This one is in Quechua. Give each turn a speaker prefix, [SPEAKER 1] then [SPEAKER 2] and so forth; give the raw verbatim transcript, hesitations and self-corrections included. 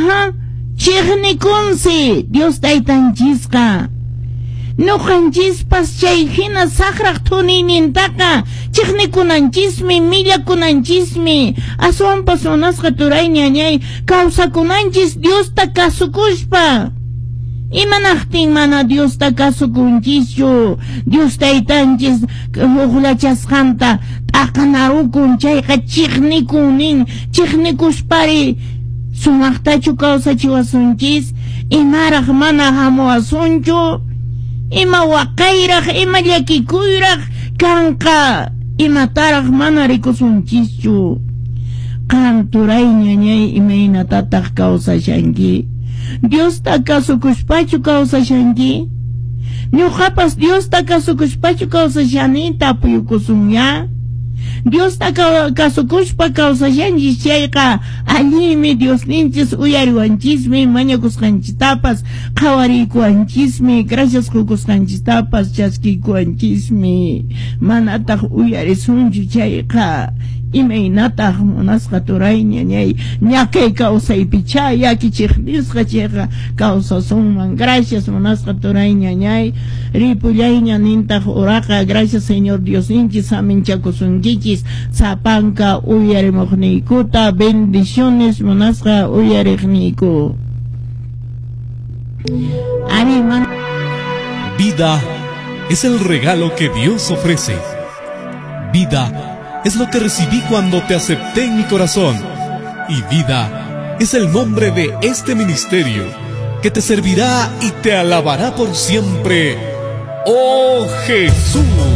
[SPEAKER 1] Aha, chiqnikunsi Dios taytanchisqa. Ñuqanchispas chay hina saqraq thuniynintaqa chiqnikunanchismi, millakunanchismi. Aswanpas munasqa turay ñañay kawsakunanchis Diosta kasukuspa. Imanaqtin mana Diosta kasukunchischu? Dios taytanchis huqllachasqanta t'aqanarukun chayqa chiqnikun nin, chiqnikuspari sumaqtachu kawsachiwasunchis, imaraq mana hamuwasunchu, ima waqayraq, ima llakikuyraq kanqa, imataraq mana rikusunchischu. Qan turay ñañay imaynatataq kawsashanki? Diosta kasukuspachu kawsashanki? Ñuqapas Diosta kasukuspachu kawsashani tapuykusunya. Diosta kasukuspa kawsashanchis chayqa allinmi Diosninchis uyariwanchismi, mañakusqanchistapas qhawariykuwanchismi, gracias qukusqanchistapas chaskiykuwanchismi. Manataq uyarisunchu chayqa imaynataq munasqa turay ñañay ñakay kawsaypicha yakichiqnisqa chayqa kawsasunman. Gracias munasqa turay ñañay, ripullayña nintaq uraqa. Gracias Señor Diosninchis saminchakusunkichis sapanka uyarimuqniykuta. Bendiciones munasqa uyariqniyku. Ari,
[SPEAKER 2] Vida es el regalo que Dios ofrece. Vida es lo que recibí cuando te acepté en mi corazón. Y vida es el nombre de este ministerio que te servirá y te alabará por siempre. ¡Oh Jesús!